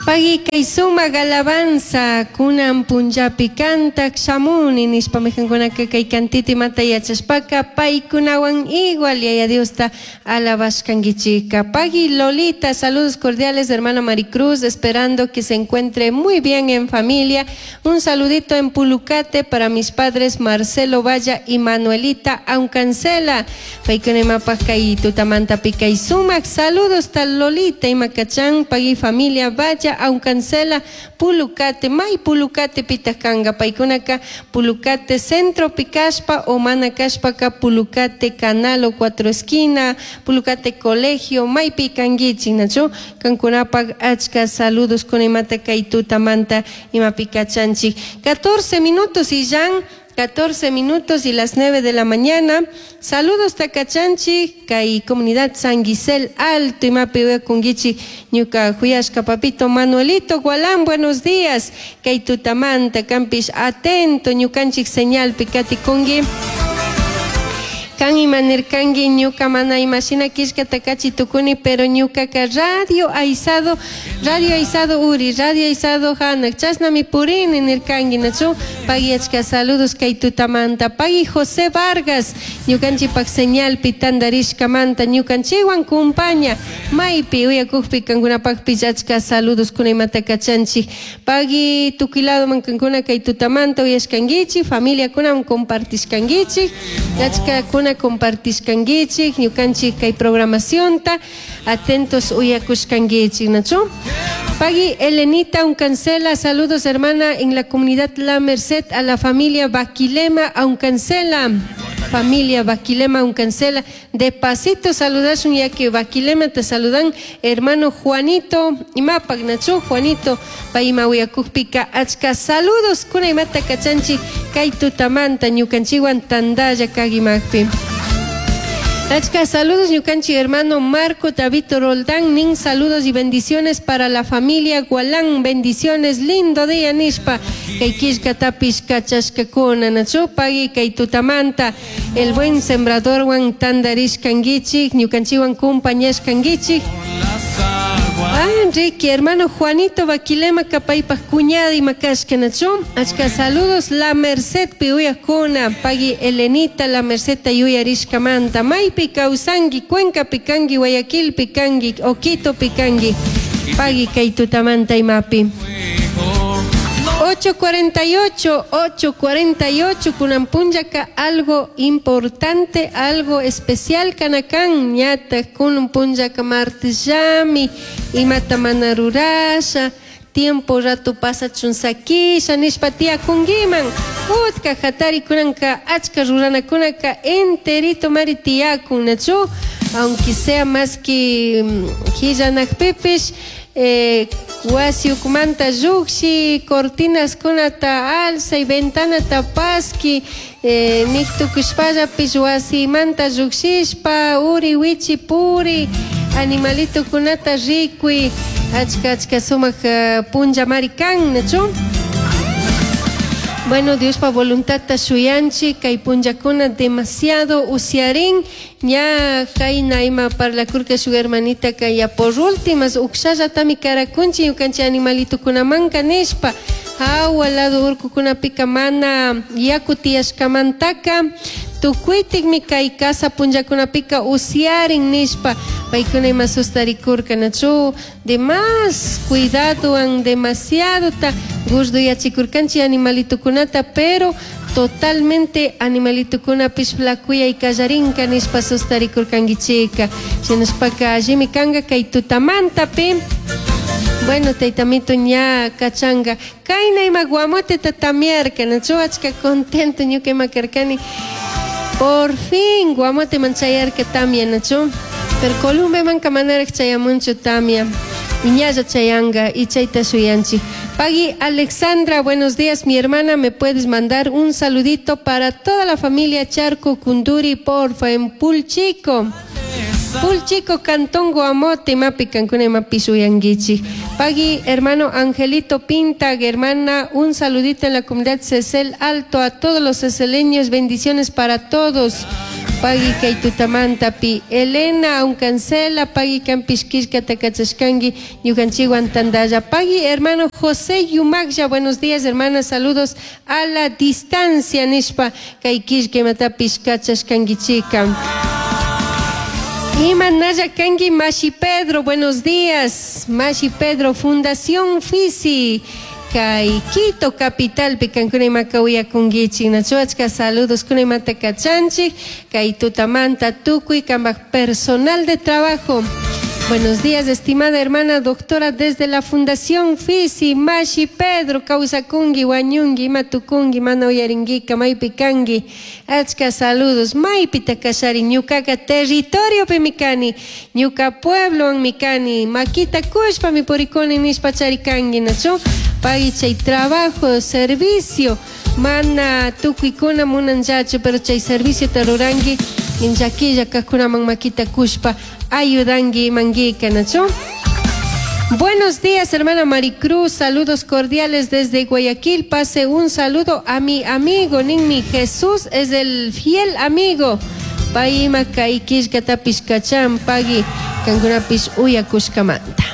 Pagui kay sumak alabanza kunan punllapi kantak shamuni nishpa maykankunaka kay cantita imata yachashpaka paykunawan igual Yaya Diosta alabashkanguichika. Pagui Lolita, saludos cordiales hermana Maricruz, esperando que se encuentre muy bien en familia. Un saludito en Pulucate para mis padres Marcelo Valla y Manuelita Aucancela. Paykuna imapaj kay tutamantapi kay sumak saludos tal Lolita ima kachan pagui familia Valla Aucancela Pulucate may Pulucate pitaq kanqa paykunaka Pulucate centropi kashpa o mana kashpaka Pulucate canal o cuatro esquina Pulucate colegio maypi kankichik nachu kankunapaq achka saludos kuna imata kay tutamanta imapi kachanchik 14 minutos y ya 14 minutos y las 9 de la mañana. Saludos takachanchik kay comunidad San Gisel Alto imapi uyakunkichik ñuka huyashka papito Manuelito Gualán, buenos días. Kay tutamanta kampish atento ñukanchik señalpi katikunki. Kan imanirkanki ñuka mana imashina killkata kachi tukuni pero ñukaka radio aisado radio aisado uri radio aisado hanak chashnami purini nirkanki nachu pagui achka saludos kay tutamanta pagui José Vargas ñukanchikpak señalpi tandarishkamanta ñukanchikwan kumpaña maypi uyakukpi kankunapakpish achka saludos kuna imata kachanchik pagui tukuy ladoman kankuna kay tutamanta uyashkankichik familiakunawan compartishkankichik achkakuna compartishkankichik ñukanchik kay programacionta atentos uyakushkankichik nachu Pagui Elenita Uncancela, saludos hermana en la comunidad La Merced a la familia Baquilema Uncancela. Familia Baquilema Uncancela. De pasito saludashun ya que Baquilema te saludan hermano Juanito imapak nachu Juanito payma uyakukpika achka saludos kuna imata kachanchik kay tutamanta ñukanchikwan tandalla kagimakpi. Achka saludos ñukanchik hermano Marco David Roldán nin saludos y bendiciones para la familia Gualán bendiciones lindo día nishpa kay killkatapish kachashkakuna nachu pagui kay tutamanta el buen sembradorwan tandarishkankichik ñukanchikwan kumpañashkankichik. Ah, Enrique, hermano Juanito Baquilema kapaypaj cuñada ima kashka nachu achka saludos La Merced pi uyakuna pagui Elenita La Mercedta yuyarishkamanta maypi kawsanki Cuencapi kanki Guayaquilpi kanki o Quitopi kanki pagui kay tutamanta imapi 8.48, 8.48, kunan punllaka algo importante, algo especial kanakan, ñata kunan punllaka martes llami, imata mana rurasha, tiempo rato pasachun sakisha nishpa tiyakunkiman, utka hatari kunanka achka ruranakunaka enterito mari tiyakun, nachu, aunque sea más que killanakpipish, wasi ukumanta llukshi cortinaskunata alzay ventanata paski nik tukushpallapish wasimanta llukshishpa uri wichi puri animalitokunata rikuy achka achka sumak punllamari kan nachu. Bueno, Diospa voluntadta shuyanchik kay punllakuna demasiado usiarin ña kayna ima parlakurka shuk hermanitaka ya por últimas ukshallatami karakunchik ñukanchik animalitokunamanka nishpa hawa lado urkukunapika mana yaku tiyashkamantaka tukuytikmi kay casa punllakunapika usiarin nishpa paykuna ima sustarikurka nachu de más cuidadowan demasiadota gurduyachikurkanchik animalitokunata pero totalmente animalitokunapish flacuyay kallarinka nishpa sustarikurkankichika shinashpaka allimi kanka kay tutamantapi. Bueno, taytamito ña kachanka kayna ima guamoteta tamiarka nachu achka contento ñuka ima karkani por fin guamoteman chayarka tamia nachu pero Columbemanka manaraj chayamunchu tamia y ñalla chayanka y chayta shuyanchik. Pagui Alexandra, buenos días, mi hermana, me puedes mandar un saludito para toda la familia Charco Kunduri, porfa, en Pulchico. Pulchico, Cantón Guamote, imapi kankuna imapi shuyankichik. Pagui, hermano Angelito Pinta, hermana, un saludito en la comunidad Cecel Alto, a todos los ceceleños, bendiciones para todos. Pagui kay tutamantapi Elena Aucancela, pagui kanpish killkata kachashkanki ñukanchikwan tantalla. Pagui hermano José Yumaglla, buenos días hermana, saludos a la distancia nishpa kay killka imatapish kachashkankichika. Ima nalla kanki Mashi Pedro, buenos días. Mashi Pedro, Fundación Fisi. Kay Quito capitalpi kankuna imaka uyakunkichik nachu achka saludos kuna imata kachanchik kay tutamanta tukuy kanpak personal de trabajo. Buenos días, estimada hermana doctora, desde la Fundación Fisi, Mashi Pedro, kawsakunki, wañunki, ima tukunki, mana uyarinkica, maypi kanki, achka saludos, maypita kashari, ñukaka territoriopimi kani, ñuka pueblowanmi kani, makita kushpami purikuni nishpa charikanki, nachu? Pagui chay trabajo, servicio, mana tukuykuna munanllachu, pero chay serviciota ruranki, llakilla kajkunaman makita kushpa ayudanki imankica, nachu? Buenos días, hermana Maricruz. Saludos cordiales desde Guayaquil. Pase un saludo a mi amigo Ninmi. Jesús es el fiel amigo. Pay ima kay killkatapish kachan pagui kankunapish uyakushkamanta.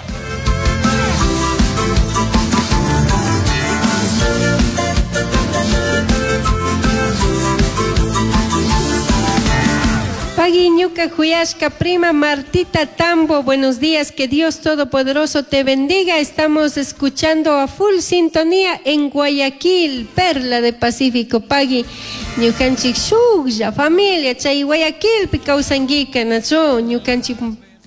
Pagui ñuka juyashka prima Martita Tambo, buenos días, que Dios Todopoderoso te bendiga. Estamos escuchando a full sintonía en Guayaquil, Perla de Pacífico. Pagui ñukanchik shuklla familia chay Guayaquilpi kawsankica, nachu ñukanchik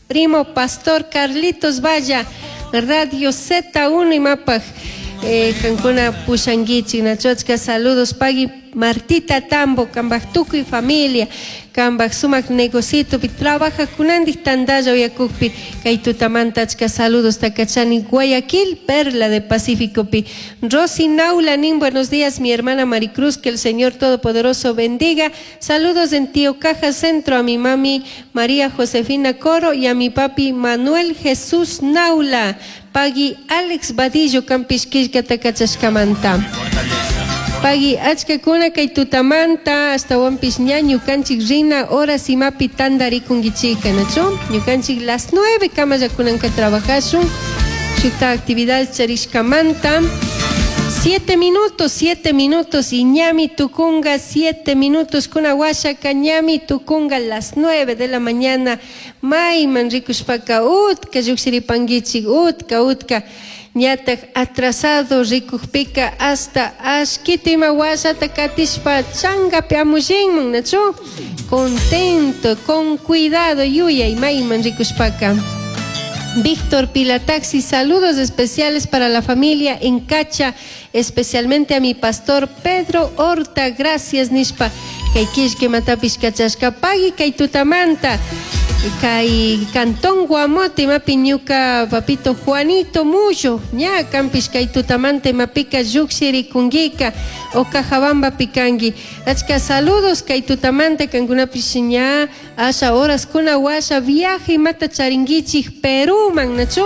primo Pastor Carlitos Valla, Radio Z1 imapaj kankuna pushankichik, nachu achka saludos pagui Martita Tambo, kanpak tukuy familia, kanpak sumak negocitopi trabajakunandik tantalla uyakukpi kay tutamanta achka saludos takachani Guayaquil, Perla de Pacíficopi. Rosy Naula nin, buenos días mi hermana Maricruz, que el Señor Todopoderoso bendiga. Saludos en Tío Caja Centro a mi mami María Josefina Coro y a mi papi Manuel Jesús Naula. Pagui Alex Vadillo kanpish killkata kachashkamanta. Pagui achkakuna kay tutamanta ashtawanpish ña ñukanchik rina horas imapi tantarikunkichika, nachu? Ñukanchik las 9 kamallakunanka trabajashun shukta actividad charishkamanta. 7 minutos, 7 minutos y ñami tukunga, 7 minutos kuna washaka ñami tukunga las 9 de la mañana. Mayman rikushpaka utka llukshiripankichik, utka, utka. Ñataj atrasado rikukpika hasta ashkita ima washata katishpa changapi amushinman, nachu? Contento, con cuidado, yuyay mayman rikushpaka. Víctor Pilataxi, saludos especiales para la familia en Cacha, especialmente a mi pastor Pedro Horta, gracias nishpa. Kay killka imatapish kachashka pagui kay tutamanta. Kay Cantón Guamote imapi ñuka papito Juanito Mullo, ña kanpish kay tutamanta imapika llukshirikunkika o Cajabamba pikanki. Achka saludos kay tutamanta kankunapish ña asha horas kuna washa viaje imata charinkichik Perúman, nachu?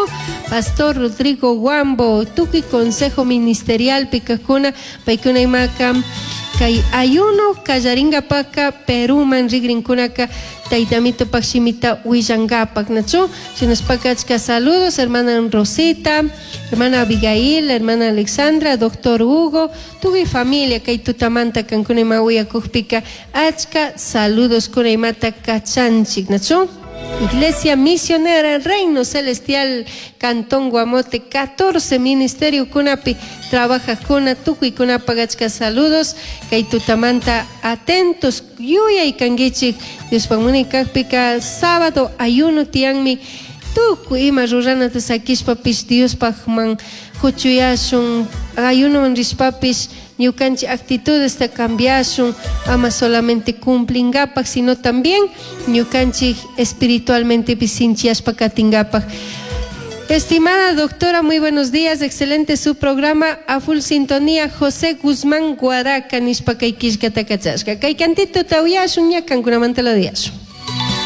Pastor Rodrigo Guambo, tukuy consejo ministerial pikakuna, paykuna imaka kay ayuno kallaringapaka Perúman rigrinkunaka taytamito pakshimita willankapak, nachu? Shinashpaka achka saludos, hermana Rosita, hermana Abigail, hermana Alexandra, doctor Hugo, tukuy familia kay tutamanta kankuna ima uyakukpika achka saludos kuna imata kachanchik, nachu? Iglesia Misionera Reino Celestial, Cantón Guamote, 14 Ministerio kunapi trabajajkuna, tukuykunapak achka saludos, kay tutamanta atentos, yuyay kankichik, Diospak munay kakpika sábado ayuno tiyanmi, tukuy ima ruranata sakishpapish Diospakman huchuyashun, ayunoman rishpapish ñukanchik actitudesta cambiashun, ama solamente cumplingapak, sino también ñukanchik espiritualmente sinchiashpa katingapak. Estimada doctora, muy buenos días, excelente su programa, a full sintonía, José Guzmán Guaraca, nishpa kay killkata kachashka. Kay cantito tawiyashun, ña kankunamanta lo diyashun.